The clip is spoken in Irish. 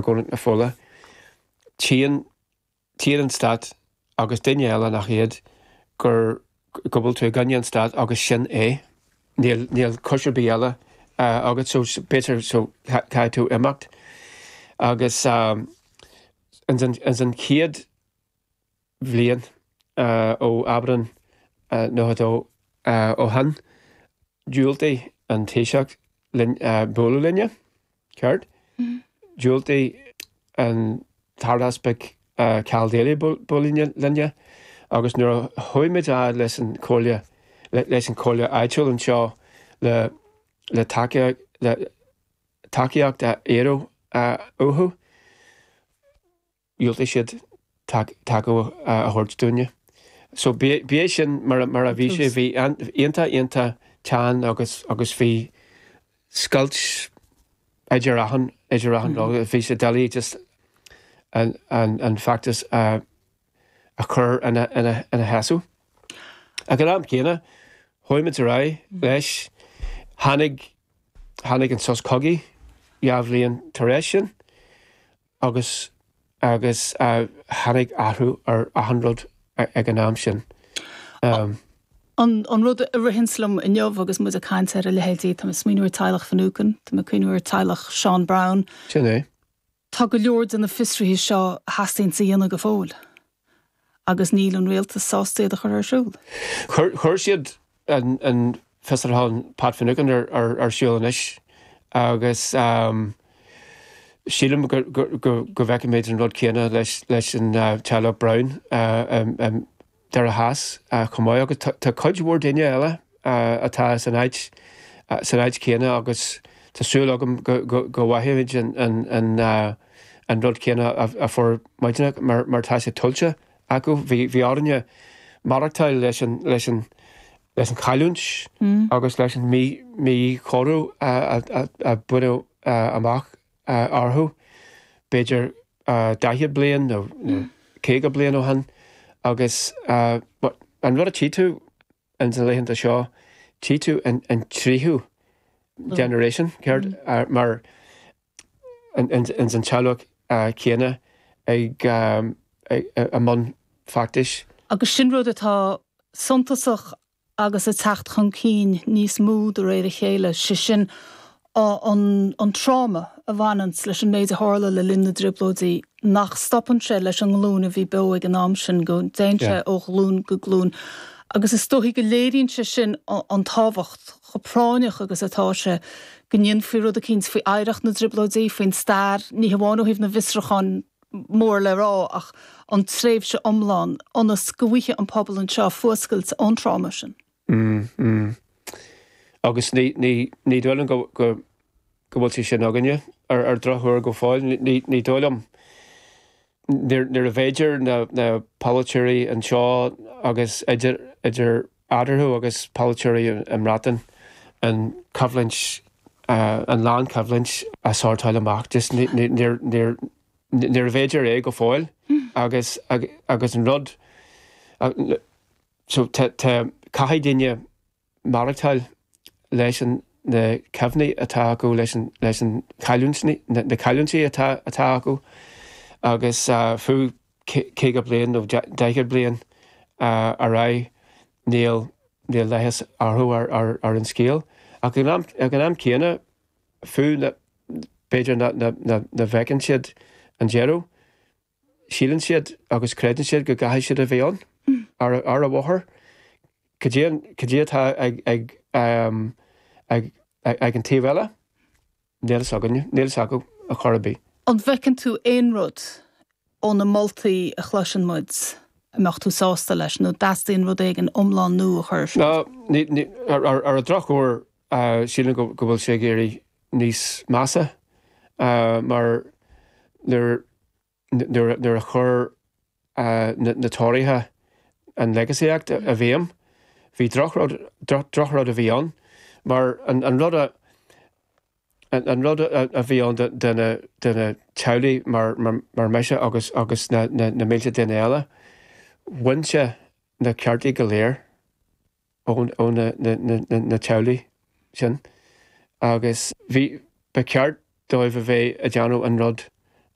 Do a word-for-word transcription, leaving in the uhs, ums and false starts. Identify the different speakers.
Speaker 1: Dhomhnach na Fola, tchíonn tchíonn an stát agus duine eile nach iad gur go bhfuil tú i gcoinne an stát agus sin é. Níl níl cúis ar bith eile agat so b'fhéidir so caithfidh tú imeacht. Agus ins an ins an chéad bhliain ó Aibreán nócha dó ó shin, diúltaigh an Taoiseach linn bualadh linne, ceart? Diúltaigh an tArdeaspag Karl Daly bualadh linne agus nuair a chuaigh muid a fhad leis an chomhairle leis an chomhairle áitiúil anseo le le tacaíocht le tacaíocht a iarraidh uathu, dhiúltaigh siad tacú a thabhairt dúinne. So b'é sin mar mar a bhí sé, bhí iontach iontach teann agus agus bhí scoilt idir achan idir achan rud. Bhí sé doiligh just an an an feachtas a a chur ina ina ina sheasamh. Ag an am céanna, chuaigh muid ar aghaidh leis, tháinig tháinig an sos cogaidh dhá bhliain tar éis sin agus agus tháinig athrú ar achan rud ag an am sin.
Speaker 2: Um, An, an rud a ritheann liom inniu agus muid ag caint ar a leithéidí, tá mé ag smaoineamh ar teaghlach Finucane, tá mé ag cuimhneamh ar teaghlach Seán Brown.
Speaker 1: Sin é.
Speaker 2: Tá go leor de na fiosruithe seo a theastaíonn a dhéanamh go fóill. Agus níl an rialtas sásta iad a chur ar siúl.
Speaker 1: Chuir chuir siad an, an fiosrúchán Pat Finucane ar, ar, ar siúl anois agus um, sílim go, go, go, go bhfeicfimid an rud céanna leis, leis an uh, teaghlach Brown uh, um, um, Doire Theas uh, chomh maith agus tá tá cuid mhór daoine eile uh, atá san áit uh, san áit céanna agus tá súil agam go, go, go bhfaighimid an, an, an, uh, an rud céanna a, a fuair muidne mar, mar tá sé tuillte acu. Bhí bhí orainne maireachtáil leis an, leis an, leis an chailliúint mm. agus leis an mí míchóiriú a, a, a, a baineadh uh, amach uh, orthu. B'fhéidir uh, daichead bliain nó, nó caoga bliain ó shin agus uh, an rud a tchí tú in na laethanta seo tchí tú an, an tríú generation ceart mm. uh, mar in, in, in an teaghlach uh, céanna ag um, ag, i mbun feachtais.
Speaker 2: Agus sin rud atá suntasach agus ag teacht chun cinn níos mó de réir a chéile, sé sin an, an tráma a bhaineann leis an méid a tharla le linn na dTrioblóidí nach stopann sé leis an nglúin a bhí beo ag an am sin go dtéann sé ó ghlúin go glúin. Agus is dóigh go léiríonn sé sin an tábhacht chomh práinneach agus atá sé go ndéanfaí rud eicínt faoi oidhreacht na dTrioblóidí faoin stair ní hamháin ó thaobh na bhfiosrúchán mór le rá ach an tréimhse iomlán ionas go bhfaighidh an pobal anseo fuascailt ón tráma sin.
Speaker 1: Mm, mm. Agus ní ní ní dóigh liom go go go bhfuil sé sin againne ar ar drochuair go fóill ní ní dóigh liom nuair a bhféidir na na polaiteoirí anseo agus idir idir eatarthu agus polaiteoirí i mBreatain an choimhlint uh, an lánchoimhlint a shórtáil amach just níor níor bhféidir é go fóill agus agus an rud so caithfidh daoine maireachtáil leis an na cuimhní atá acu leis an leis an chailliúint na cailliúintí atá atá acu agus uh, fiú caoga bliain nó daichead bliain uh, ar aghaidh níl níl leigheas orthu ar, ar, ar an scéal. Ach ag an ag an am céanna fiú b'fhéidir na, na, na, na bhfeiceann siad an deireadh, síleann siad agus creideann siad go gcaithfidh siad a bheith ann mm. ar, ar a bhóthar. Cad é atá ag, ag, um, ag, ag, ag an taobh eile? Níl a fhios againne, níl a fhios acu ar chor ar bith.
Speaker 2: An bhfeiceann tú aon rud ó na moltaí a chloiseann muid a mbeadh tú sásta leis nó dteastaíonn rud éigin iomlán nua a chur?
Speaker 1: No, ní, ní, ar, ar, ar an drochuair uh, sílim go, go bhfuil sé ag éirí níos measa uh, mar nuair nuair nuair a chuir uh, na, na Tóraithe an Legacy Act i bhfeidhm, bhí drochrud drochrud a bhí ann, mar an, an rud a an, an rud a, a bhí ann de, de na, de na teaghlaigh mar, mar, mar mise agus agus na, na, na mílte duine eile, bhain sé na ceartaí go léir ó, ó na, na, na, na, na teaghlaigh sin. Agus bhí ba cheart dóibh a bheith ag déanamh an rud